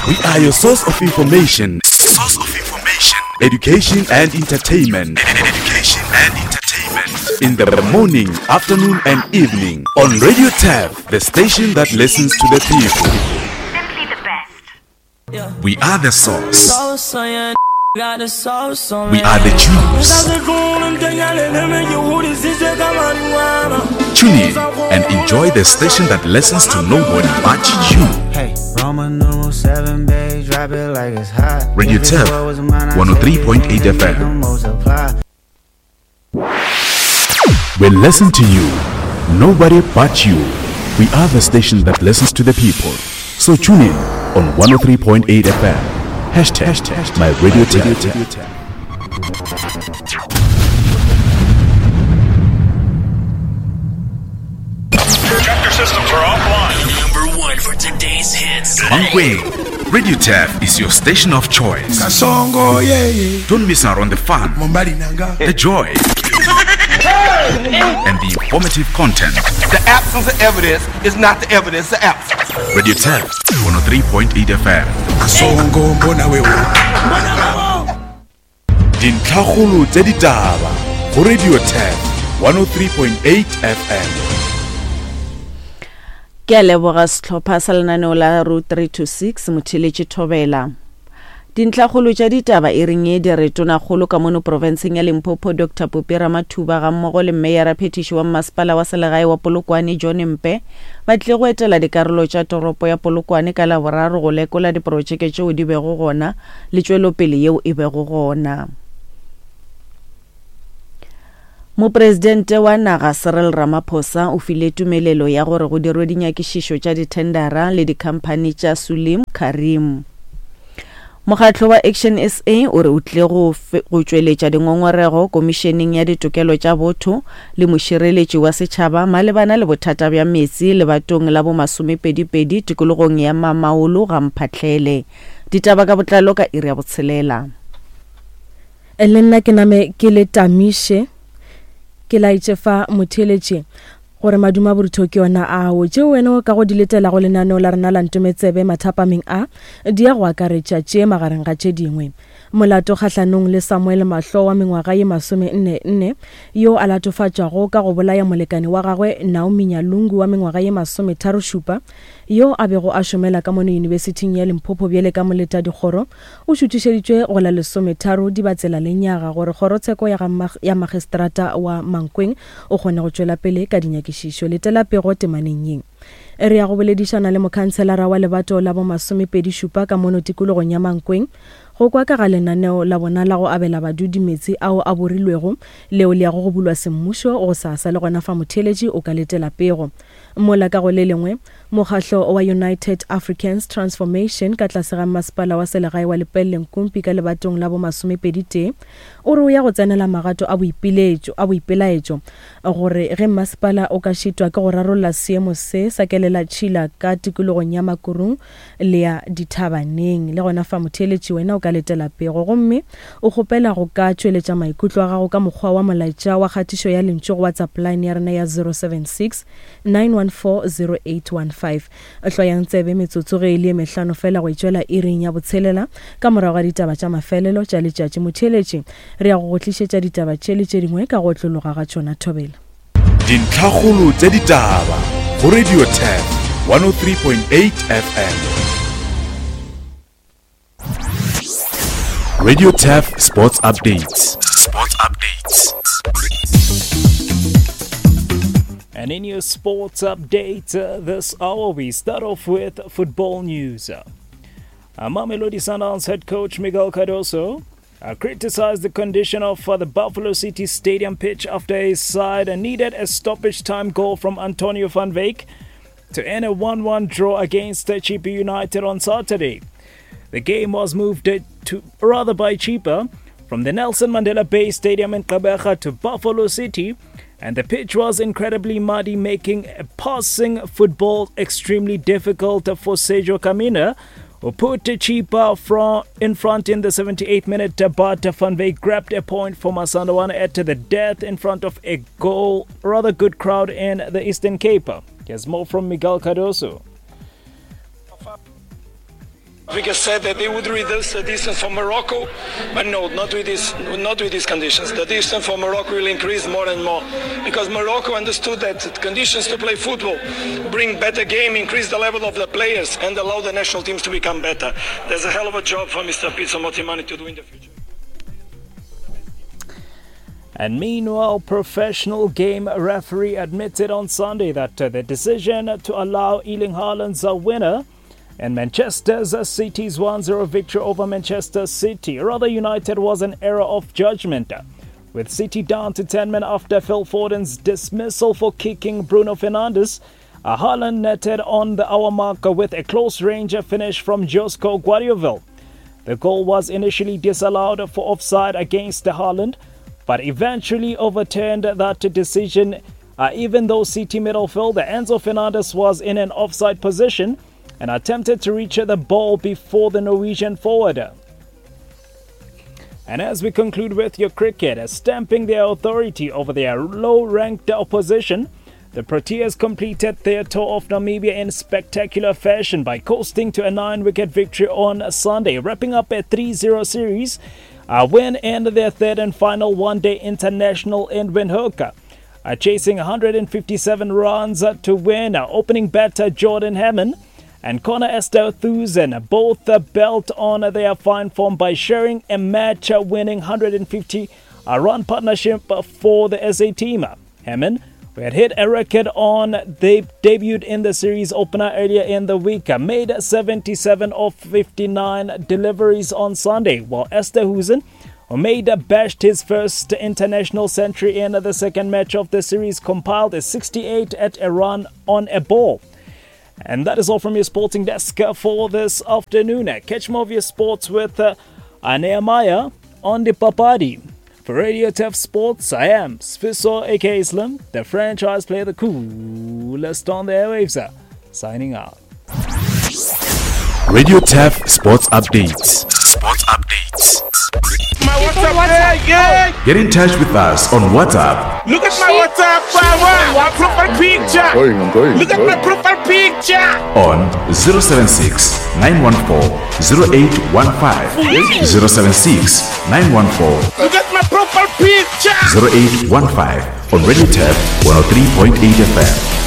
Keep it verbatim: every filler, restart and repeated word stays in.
We are your source of information. Source of information. Education and entertainment. Education and entertainment. In the morning, afternoon, and evening on Radio T A F, the station that listens to the people. Simply the best. We are the source. We are the juice. Tune in and enjoy the station that listens to nobody but you. Hey, Roman numeral seven, babe, drop it like it's hot. Radio T A F, one oh three point eight F M. We listen to you, nobody but you. We are the station that listens to the people. So tune in on one oh three point eight F M. Hashtag, hashtag my radio T A F. Projector systems are offline. Number one for today's hits. Mankweng, Radio T A F is your station of choice. Kasongo, yeah, yeah. Don't miss out on the fun, the joy, and the informative content. The absence of evidence is not the evidence of absence. Radio T A F, one oh three point eight F M. Kasongo, mbona wewe. Dintlhakgolo tsa ditaba go Radio T A F, one oh three point eight F M. Ke a leboga sehlopha sa lenaneo la Route three two six Motheletše Thobela. Dintlhakgolo tša ditaba e reng e di re tonakgolo ka mono profenseng ya Limpopo Doctor Phophi Ramathuba ga mmogo le meyara phetiši wa mmasepala wa selegae wa Polokwane John Mpe ba tlile go etela dikarolo tša toropo ya Polokwane ka Laboraro go lekola diprotšeke tšeo di bego gona le tšwelopele yeo e bego gona. Mopresidente wa naga Cyril Ramaphosa o file tumelelo ya gore go dirwe dinyakišišo tša dithendara le dikhamphani tša Sulim Karim. Mokgatlo wa Action S A o re o tlile go go tšweletša dingongorego komišeneng ya ditokelo tša botho le mošireletši wa setšhaba malebana le bothata bja metsi lebatong la bomasomepedipedi tikologong ya Mamaolo ga Mphahlele. Ditaba ka botlalo ka iri ya botshelela. Le nna ke name ke le tamiše ke laetše fa motheletše gore maduma borutho ke yona ao tšeo wena o ka go di letela go lenaneo la rena la Ntometsebe mathapameng a di ya go akaretša tše magareng ga tše dingwe. Molato kgahlanong le Samuel Mahlo wa mengwaga ye masome nne nne yo a latofatšwago ka go bolaya molekane wa gagwe Naomi Nyalungu wa mengwaga ye masome tharo šupa yo a bego a šomela ka mono yunibesithing ya Limpopo bjale ka moleta dikgoro o šuthišeditšwe go la lesometharo Dibatsela lenyaga gore kgorotsheko ya, ya magistrata wa Mankweng o kgone go tšwela pele ka dinyakišišo. Letela pego temaneng ye. Re ya go boledišana le mokhanselara wa lebato la bomasomepedi šupa ka mono tikologong ya Mankweng go kwa ka ga lenaneo la bona la go abela badudi metsi ao a borilwego leo le yago go bulwa semmušo go sasa le gona fa motheletši o ka letela pego. Mola ka go le lengwe mokgahlo wa United Africans Transformation ka tlase ga masepala wa selegae wa Lepelle Nkumpi ka lebatong la bomasomepedi tee o re o ya go tsenela magato a boipiletšo a boipelaetšo gore ge masepala o ka šitwa ke go rarolla seemo se sa kelela tšhila ka tikologong ya Makurung le ya Dithabaneng. Le gona fa motheletši wena o ka letela pego gomme o kgopela go ka tšweletša maikutlo a gago ka mokgwa wa molaetša wa kgatišo ya lentšu go WhatsApp line ya rena ya zero seven six nine one four zero eight one five. Hlwayang tsebe metsotso ge e le mehlano fela go itšwela iring ya botshelela ka morago ga ditaba tša mafelelo tša letšatši. Motheletši re ya go go tlišetša ditaba tše le tše dingwe ka go otlologa ga tšona. Thobela. Dintlhakgolo tša ditaba go Radio T A F one oh three point eight F M. Radio T A F Sports Updates. Sports Updates. And in your sports update uh, this hour, we start off with football news. Uh, Mamelodi Sundowns head coach Miguel Cardoso uh, criticized the condition of uh, the Buffalo City Stadium pitch after his side needed a stoppage time goal from Antonio van Wyk to end a one one draw against Chippa United on Saturday. The game was moved to rather by Chippa from the Nelson Mandela Bay Stadium in Gqeberha to Buffalo City, and the pitch was incredibly muddy, making passing football extremely difficult for Sergio Kamina, who put Chippa from in front in the seventy-eighth minute, but Van Wyk grabbed a point for Masandawana at the death in front of a goal, rather good crowd in the Eastern Cape. Here's more from Miguel Cardoso. Africa said that they would reduce the distance from Morocco, but no, not with this, not with these conditions. The distance from Morocco will increase more and more because Morocco understood that conditions to play football bring better game, increase the level of the players, and allow the national teams to become better. There's a hell of a job for Mister Pitso Mosimane to do in the future. And meanwhile, professional game referee admitted on Sunday that uh, the decision to allow Erling Haaland's uh, winner and Manchester City's one zero victory over Manchester City, rather United, was an error of judgment. With City down to ten men after Phil Foden's dismissal for kicking Bruno Fernandes, Haaland netted on the hour marker with a close-range finish from Josko Gvardiol. The goal was initially disallowed for offside against Haaland, but eventually overturned that decision, uh, even though City midfielder Enzo Fernandez was in an offside position and attempted to reach the ball before the Norwegian forward. And as we conclude with your cricket, stamping their authority over their low-ranked opposition, the Proteas completed their tour of Namibia in spectacular fashion by coasting to a nine-wicket victory on Sunday, wrapping up a three zero series a win in their third and final one-day international in Windhoek. Uh, chasing one hundred fifty-seven runs to win, uh, opening batter Jordan Hammond and Connor Esterhuizen both built on their fine form by sharing a match-winning one hundred fifty run partnership for the S A team. Hammond, who had hit a record on they debuted in the series opener earlier in the week, made seventy-seven of fifty-nine deliveries on Sunday, while Esterhuizen, who made bashed his first international century in the second match of the series, compiled a sixty-eight at a run on a ball. And that is all from your sporting desk for this afternoon. Catch more of your sports with uh, Nehemiah on the Papadi. For Radio Turf Sports, I am Sfiso aka Slim, the franchise player, the coolest on the airwaves, signing out. Radio Turf Sports Updates. Sports Updates. My WhatsApp, yeah. Get in touch with us on WhatsApp. Look at my WhatsApp, my profile picture. I'm going, I'm going, Look I'm at going. my profile picture. On zero seven six, nine one four, zero eight one five. zero seven six, nine one four. Look at my profile picture. zero eight one five on Radio Turf one oh three point eight F M.